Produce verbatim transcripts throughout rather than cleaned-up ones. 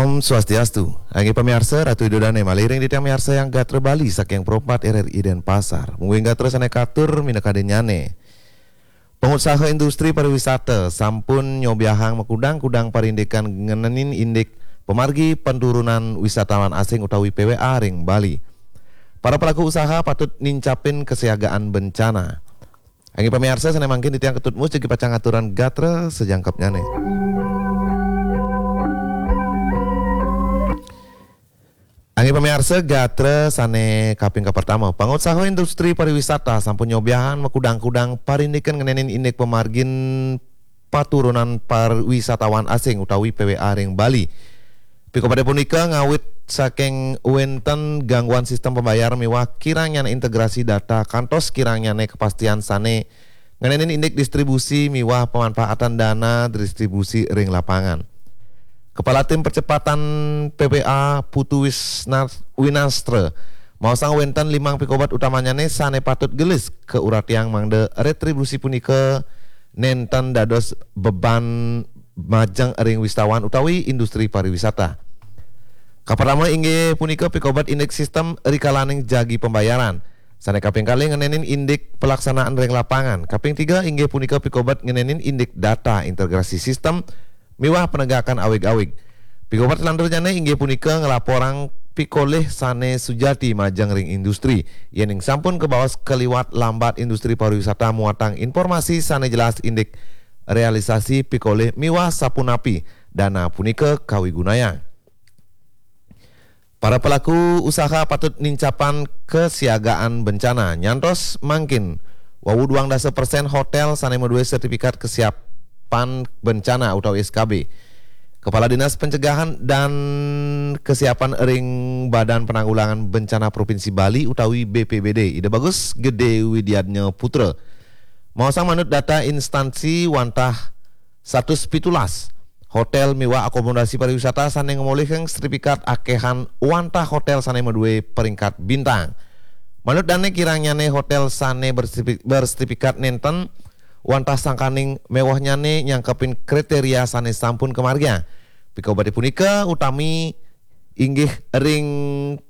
Om Swastiastu. Inggih pamiarsa, Ratu Ida Dane malih ring titiang miarsa Yang Gatra Bali saking Pro empat R R I Denpasar. Mungguing gatra sane katur minakadinnyane. Pangusaha industri pariwisata sampun nyobiahang makudang-kudang parindikan ngenenin indik pamargi paturunan wisatawan asing utawi P W A ring Bali. Para pelaku usaha patut nincapin kesiagaan bencana. Inggih pamiarsa, sane mangkin titiang Ketut Mus jagi pacang ngaturang gatra sajangkepnyane. Inggih pamiarsa, gatra sane kaping kapertama, pangusaha industri pariwisata sampun nyobiahang makudang-kudang parindikan ngenenin indik pamargin paturunan pariwisatawan asing utawi P W A ring Bali. Pikobete punika ngawit saking wenten gangguan sistem pembayaran miwah kirangnyane integrasi data kantos kirangnyane kepastian sane ngenenin indik distribusi miwah pemanfaatan dana distribusi ring lapangan. Kepala Tim Percepatan P P A Putu Wisna-, Winastra maosang wenten limang pikobet utamanyane sane patut gelis kauratiang mangda retribusi punika nenten dados beban majeng ring wisatawan utawi industri pariwisata. Kapertama inggih punika pikobet indik sistem rikalaning jagi pembayaran. Sane kaping kalih ngenenin indik pelaksanaan ring lapangan. Kaping tiga inggih punika pikobet ngenenin indik data integrasi sistem miwah penegakan awig-awig. Pikobet selanturnyane inggih punika nglaporang pikolih sane sujati majeng ring industri. Yening sampun kabaos kaliwat lambat industri pariwisata muatang informasi sane jelas indik realisasi pikolih miwah sapunapi dana punika kawigunayang. Para pelaku usaha patut nincapang kesiagaan bencana. Nyantos mangkin, wau duang dasa persen hotel sane madue sertifikat kesiapan bencana utawi S K B. Kepala Dinas Pencegahan dan Kesiapan ring Badan Penanggulangan Bencana Provinsi Bali utawi B P B D, Ida Bagus Gede Widiadnya Putra, maosang manut data instansi wantah satus pitulas hotel miwah akomodasi pariwisata sane ngamolihang sertifikat akehan wantah hotel sane madue peringkat bintang. Manut dane kirangnyane hotel sane bersertifi-, bersertifikat nenten wantah sangkaning mewahnyane nyangkepin kriteria sane sampun kamargiang. Pikobete punika utami inggih ring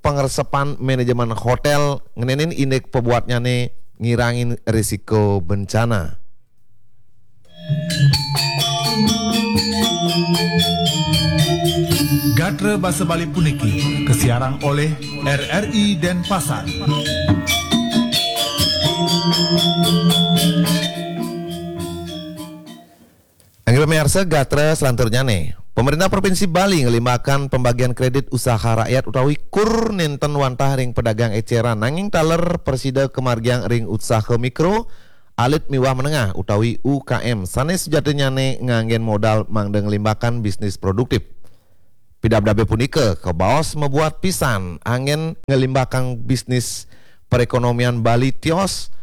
pangresepan manajemen hotel ngenenin indik pabuatnyane ngirangin risiko bencana. Gatra basa Bali puniki kasiarang olih R R I Denpasar. Inggih pamiarsa, gatra selanturnyane. Pemerintah Provinsi Bali ngelimbakang pembagian kredit usaha rakyat utawi kur nenten wantah ring pedagang eceran, nanging taler prasida kamargiang ring usaha mikro, alit miwah menengah utawi U K M sane sujatinyane nganggen modal mangda ngelimbakang bisnis produktif. Pidabdabe punika kabaos mabuat pisan anggen ngelimbakang bisnis perekonomian Bali tios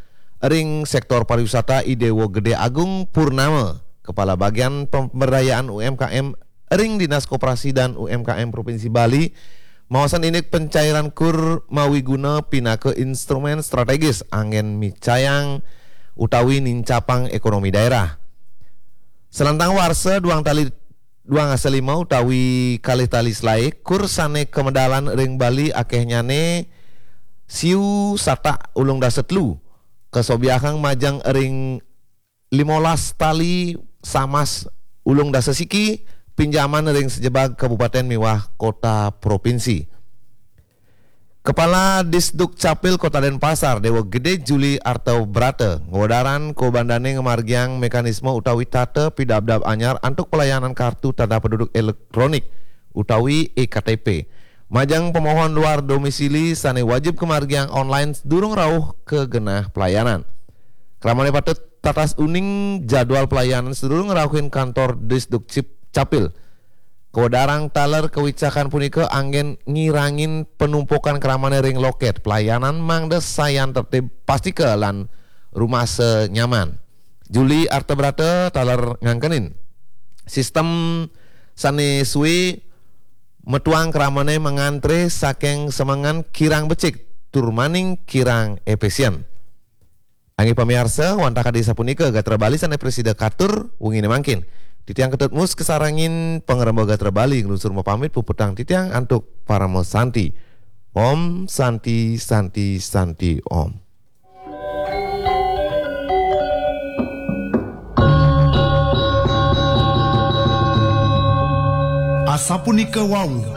ring sektor pariwisata. I Dewa Gede Agung Purnama, Kepala Bagian Pemberdayaan U M K M ring Dinas Koperasi dan U M K M Provinsi Bali, maosang indik pencairan kur mawiguna pinaka instrumen strategis anggen micayang utawi nincapang ekonomi daerah. Selantang warsa duang tali duang dasa lima utawi kalih tali selae, kur sane kamedalan ring Bali akehnyane siu satak ulung dasa telu, kasobiahang majeng ring limolas tali samas ulung dasa siki, pinjaman ring sajebag kabupaten miwah kota provinsi. Kepala Disduk Capil Kota Denpasar, Dewa Gede Juli Arta Brata, ngwedarang kobandane ngamargiang mekanisme utawi tata pidabdab anyar antuk pelayanan kartu tanda penduduk elektronik utawi e K T P. Majeng pemohon luar domisili sane wajib kamargiang online sadurung rauh ka genah pelayanan. Kramane patut tatas uning jadwal pelayanan sadurung ngrauhin kantor Disduk Cip-, Capil. Kawedarang taler kawicakan punika anggen ngirangin panumpukan kramane ring loket pelayanan mangda sayan tertib, pastika lan rumasa nyaman. Juli Artabrata taler ngangkenin sistem sane suwe metuang kramane mangantre saking semengan kirang becik tur maning kirang efisien. Inggih pamiarsa, wantah kadi sapunika gatra Bali sane prasida katur wengine mangkin. Titiang Ketut Mus kasarengin pangrembaga Gatra Bali nglungsur mapamit, puputang titiang antuk Parama Santi. Om Santi, Santi, Santi, Om. Asapunika wau,